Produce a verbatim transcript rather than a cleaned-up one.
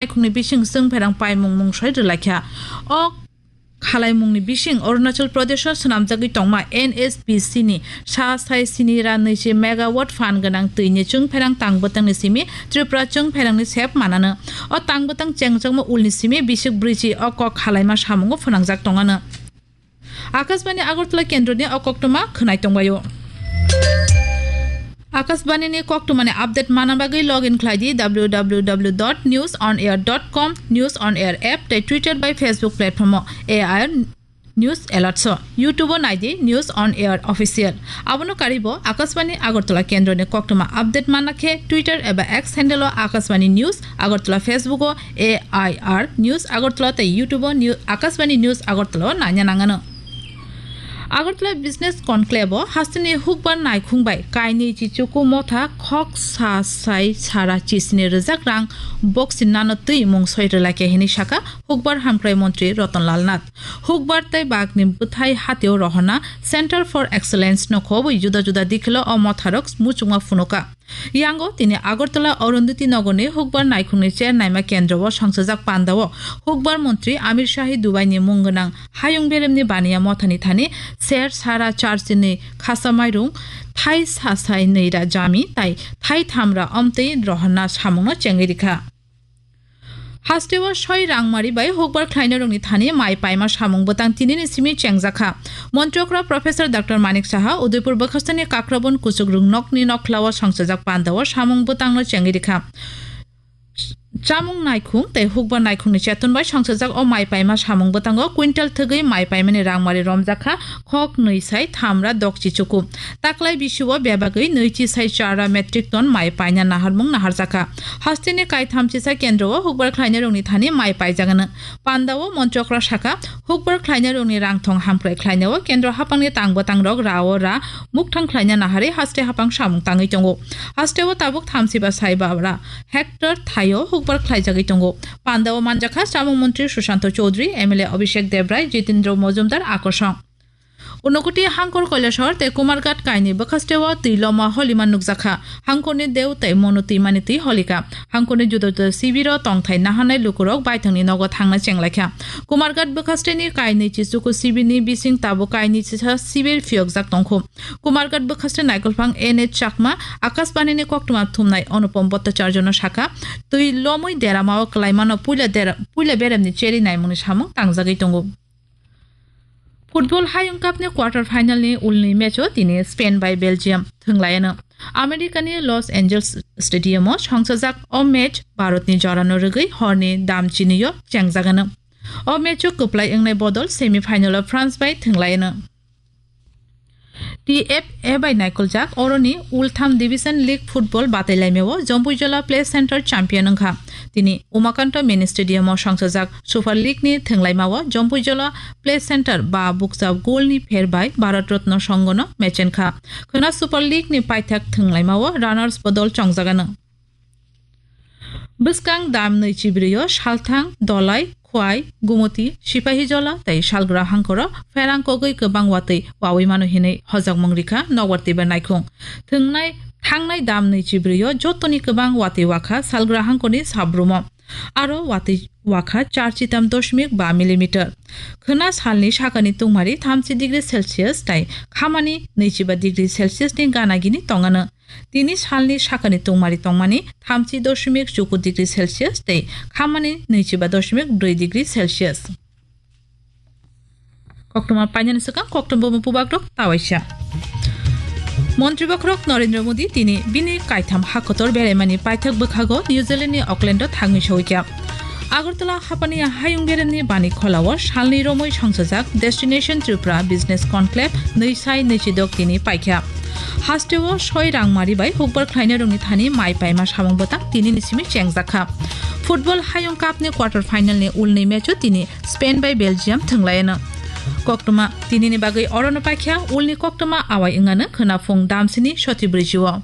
naikhungni bising chwng pherang paimung mungsoi rwlaikha. O khalaimungni bising Arunachal Pradesho swnamjagwi tongma N H P C ni sa sai sini ra nwichi megawatt phan gwnang twini chwng pherang tang bwtangni simi Tripura chwng pherangni sep manano. O tang bwtang chengjakma ulni simi bisik brwichi o kok khalaima samungo phwnangjak tongano. Akashbani Agartala kendroni o koktwma khwnai tongbaio. Akashbani ni koktwmani update mana bagwi log in khlai di W W W dot news on air dot com, News on Air app tei Twitter bai Facebook platform o A I R News Alert so. YouTube o nai di News on Air Official. Abono karibo Akashbani Agartala kendroni koktwma update mana khe Twitter eba X handle o Akashbani News Agartala, Facebook o A I R News Agartala tei YouTube o New-, Akashbani News Agartala o naina nangano. Agartala Business Conclave o hasteni hukbar naikhung bai kainwi chichuku motha khok sa sai sara chisni rwjak rang boxing nano twi mungsoi rwlaikha hwnwi saka hukbar hamkrai montri Ratan Lal Nath. Hukbar tei bagni bwthai hatio rohorna Center for Excellence no khobwi juda juda dikhilo o motharok muchungma phunuka. Yango tini Agartala Arundhati Nagarni hukbar naikhungni chair naima kendro o songchajak pandao hukbar montri Amir Shahi Dubai ni mung gwnang hayung beremni baniya mothani thani ser sara charchini khasa mairung thai sasai nwi ra jami tai thai tham ra omtwi rohorna samungno chengwi rikha. Hasteo soi rangmari bai hukbar khlainairokni thani mai paima samung bwtang tinini simi chengjakha. Montrokra Professor Doctor Manik Saha Udaipur bwkhasteni Kakrabon kuchuk rwngnokni nokhlao songchajak pandao samung bwtangno chengwi rikha. Chamung naikhung tei hukbar naikhungni cheton bai songchajak o mai paima samung bwtango quintal thwgwi mai paimani rangmari romjakha. Khok nwi sai tham ra dokchi chuku. Taklai bisio bebagwi nwichi sai chara metric ton mai paina naharmung naharjakha. Hasteni kaitham chisa kendro o hukbar khlainairokni thani mai paijagano. Pandao Montrokra saka, hukbar khlainairokni rangthong hamkrai khlainao kendro hapangni tang bwtangrok rao ra mukthang khlaina naharwi haste hapang samung tangwi tongo. Hasteo tabuk thamsiba sai babra hectare thaio hukbar khlaijagwi tongo. Pandao manjakha chamung montri Sushanto Chowdhury, M L A Abhishek Debrai, Jitendra Majumdar akosong. Unakoti Hangkor Kailasor tei Kumarghat kaini bwkhasteo twi loma holima nukjakha. Hangkorni deu tei mono twimani twi holika. Hangkorni juda juda sibiro tongthai naharnai lukurok baithangni nogo thangna chenglaikha. Kumarghat bwkhasteni kainwi chichuku sibirni bising tabuk kainwi chisa sibir phiyokjak tongkhu. Kumarghat bwkhaste naikolphang N H Chakma Akashbanini koktwma thumnai Anupam Bhattacharjano sakha, twi lomwi deramao kwlaimano puila dera-, puila beremni cheri naimungni samung tangjagwi tongo. Football Hayung Cup ni quarter final ni ulni match o tini Spain bai Belgium thwnglayano. America ni Los Angeles Stadium o songchajak o match Bharat ni jorano rwgwi horni dam chini o chengjagano. O match o kwplai wngnai bodol semi final o France bai thwnglayano. T F A bai naikoljak oroni ultham Division League football batailaimao Jompuijola Play Center champion wngkha. Tini Umakanta Mini Stadium o songchajak Super League ni thwnglaimao Jompuijola Play Center ba bukcha goal ni pher bai Bharat Ratna Songhono mechenkha. Khwna Super League ni paithak thwnglaimao runners bodol chongjagano. Bwskang dam nwi chibrio Salthang, Dolai, Khwai, Gumuti, Sipahijola tei Salgra hangkoro pherang kogwi kwbang watwi wawi mano hinwi hojakmung rikha nokbar twibar naikhung. Thwngnai, thangnai dam nwi chibrio jotoni kwbang watwi wakha Salgra hangkorni sabrumo. Aro watwi wakha char chitam doshmik ba millimeter. Khwna salni sakani tungmari thamchi degree Celsius tei khamani nwichiba degree Celsius ni gana gini tongano. Tini salni sakani tungmari tongmani thamchi doshmik chuku degree Celsius tei khamani nwichiba doshmik brwi degree Celsius. Koktwma painani swkang koktwma bubagrok tawaisa. Montri bokhorok Narendra Modi tini bini kaitham hakotor beraimani paithak bwkhago New Zealand ni Auckland o thangwi soikha. Agartala hapani hayung beremni bani kholao salni romwi songchajak Destination Tripura Business Conclave nwi sai nwichidok tini paikha. Hasteo soi rangmari bai hukbar khlainairokni thani mai paima samung bwtang tinini simi chengjakha. Football Hayung Cup ni quarter final ni ulni match o tini Spain bai Belgium thwnglayano. Koktwma tinini bagwi orono paikha ulni koktwma awai wngano khwna phung damsini soti brwichi o.